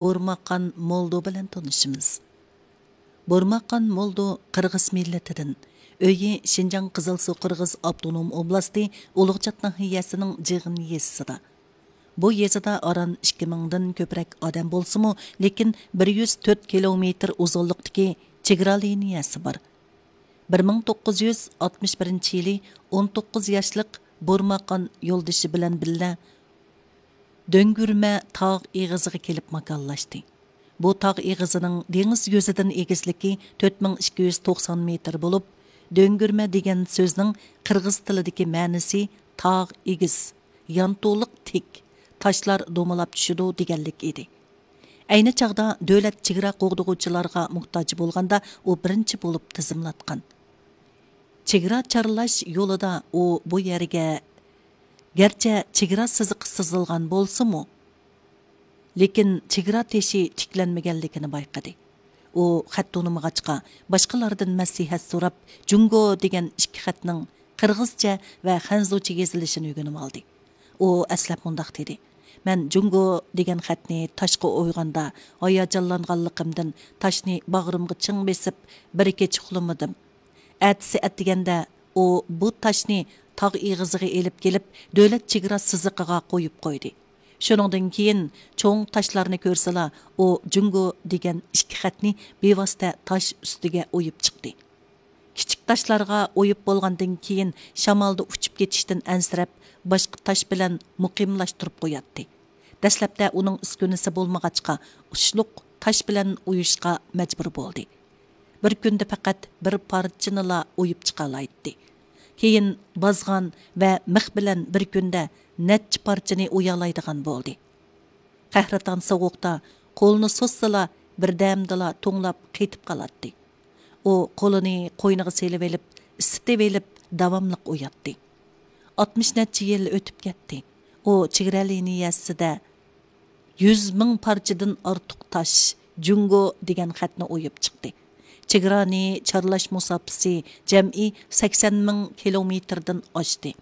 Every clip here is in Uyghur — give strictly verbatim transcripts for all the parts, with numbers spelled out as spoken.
بۇرماقان مولدو بىلەن تونۇشىمىز. بۇرماقان مولدو قىرغىز مىللىتىدىن. ئۆيى شىنجاڭ قىزىلسۇ قىرغىز ئاپتونوم ئوبلاستى ئۇلۇغچات ناھىيەسىنىڭ جىغىن يېزىسىدا. بۇ يېزىدا ئاران ئىككى مىڭدىن كۆپرەك ئادەم بولسىمۇ، لېكىن بىر يۈز تۆت كىلومېتىر ئۇزۇنلۇقتىكى چېگرا لىنىيەسى بار. بىر مىڭ توققۇز يۈز ئاتمىش بىرىنچى يىلى ئون توققۇز ياشلىق بۇرماقان يولدىشى بىلەن بىللە دۆڭگۈرمە تاغ ئېغىزىغا كېلىپ ماكانلاشتى. بۇ تاغ ئېغىزىنىڭ دېڭىز يۈزىدىن ئېگىزلىكى تۆت مىڭ ئىككى يۈز توقسان مېتىر بولۇپ، دۆڭگۈرمە دېگەن سۆزنىڭ قىرغىز تىلىدىكى مەنىسى تاغ ئېگىز، يانتۇلۇق تىك، تاشلار دومىلاپ چۈشىدۇ دېگەنلىك ئىدى. ئەينى چاغدا دۆلەت چېگرا قوغدىغۇچىلارغا موھتاج بولغاندا، ئۇ بىرىنچى بولۇپ تىزىملاتقان. چېگرا چارلاش يولىدا ئۇ بۇ يەرگە، گەرچە چېگرا سىزىقى سىزىلغان بولسىمۇ، لېكىن چېگرا تېشى تىكلەنمىگەنلىكىنى بايقىدى. ئۇ خەت تونۇمىغاچقا، باشقىلاردىن مەسلىھەت سوراپ، جۇڭگو دېگەن ئىككى خەتنىڭ قىرغىزچە ۋە خەنزۇچە يېزىلىشىنى ئۆگىنىۋالدى. ئۇ ئەسلەپ مۇنداق دېدى: «مەن جۇڭگو دېگەن خەتنى تاشقا ئويغاندا، ھاياجانلانغانلىقىمدىن تاشنى باغرىمغا چىڭ بېسىپ، بىر كېچە ئۇخلىمىدىم. ئەتىسى ئەتىگەندە ئۇ بۇ تاشنى تاغ ئېغىزىغا ئېلىپ كېلىپ، دۆلەت چېگرا سىزىقىغا قويۇپ قويدى. شۇنىڭدىن كېيىن چوڭ تاشلارنى كۆرسىلا، ئۇ جۇڭگو دېگەن ئىككى خەتنى بىۋاسىتە تاش ئۈستىگە ئويۇپ چىقتى. كىچىك تاشلارغا ئويۇپ بولغاندىن كېيىن، شامالدا ئۇچۇپ كېتىشتىن ئەنسىرەپ، باشقا تاش بىلەن مۇقىملاشتۇرۇپ قوياتتى. دەسلەپتە ئۇنىڭ ئۈسكۈنىسى بولمىغاچقا، ئۇچلۇق تاش بىلەن ئويۇشقا مەجبۇر بولدى. بىر كۈندە پەقەت بىر پارچىنىلا ئويۇپ چىقالايتتى. كېيىن بازغان ۋە مىخ بىلەن بىر كۈندە نەچچە پارچىنى ئويالايدىغان بولدى. قەھرىتان سوغۇقتا قولىنى سوزسىلا، بىردەمدىلا توڭلاپ قېتىپ قالاتتى. ئۇ قولىنى قوينىغا سېلىۋېلىپ، ئىسسىتىۋېلىپ، داۋاملىق ئوياتتى. ئاتمىش نەچچە يىل ئۆتۈپ كەتتى. ئۇ چېگرا لىنىيەسىدە يۈز مىڭ پارچىدىن ئارتۇق تاش، جۇڭگو دېگەن خەتنى ئويۇپ چىقتى. چېگرانى چارلاش مۇساپىسى جەمئىي سەكسەن مىڭ كىلومېتىردىن ئاشتى.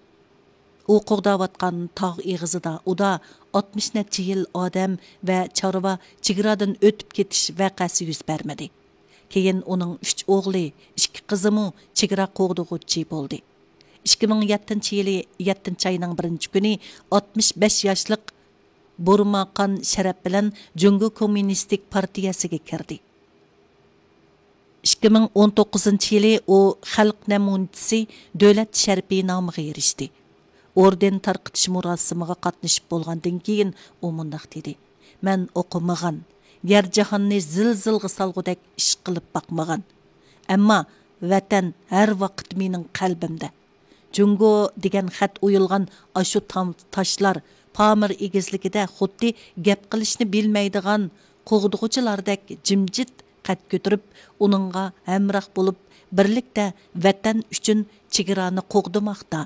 ئۇ قوغداۋاتقان تاغ ئېغىزىدا ئۇدا ئاتمىش نەچچە يىل ئادەم ۋە چارۋا چېگرادىن ئۆتۈپ كېتىش ۋەقەسى يۈز بەرمىدى. كېيىن ئۇنىڭ ئۈچ ئوغلى، ئىككى قىزىمۇ چېگرا قوغدىغۇچى بولدى. ئىككى مىڭ يەتتىنچى يىلى يەتتىنچى ئاينىڭ بىرىنچى كۈنى ئاتمىش بەش ياشلىق بۇرماقان شەرەپ بىلەن جۇڭگو كوممۇنىستىك پارتىيەسىگە كىردى. ئىككى مىڭ ئون توققۇزىنچى يىلى ئۇ خەلق نەمۇنىچىسى دۆلەت شەرىپى نامىغا ئېرىشتى. ئوردېن تارقىتىش مۇراسىمىغا قاتنىشىپ بولغاندىن كېيىن، ئۇ مۇنداق دېدى: «مەن ئوقۇمىغان، يەر جاھاننى زىلزىلغا سالغۇدەك ئىش قىلىپ باقمىغان. ئەمما ۋەتەن ھەر ۋاقىت مېنىڭ قەلبىمدە. جۇڭگو دېگەن خەت ئويۇلغان ئاشۇ تام-، تاشلار پامىر ئېگىزلىكىدە خۇددى گەپ قىلىشنى بىلمەيدىغان قوغدىغۇچىلاردەك جىمجىت قەد كۆتۈرۈپ، ئۇنىڭغا ھەمراھ بولۇپ، بىرلىكتە ۋەتەن ئۈچۈن چېگرانى قوغدىماقتا.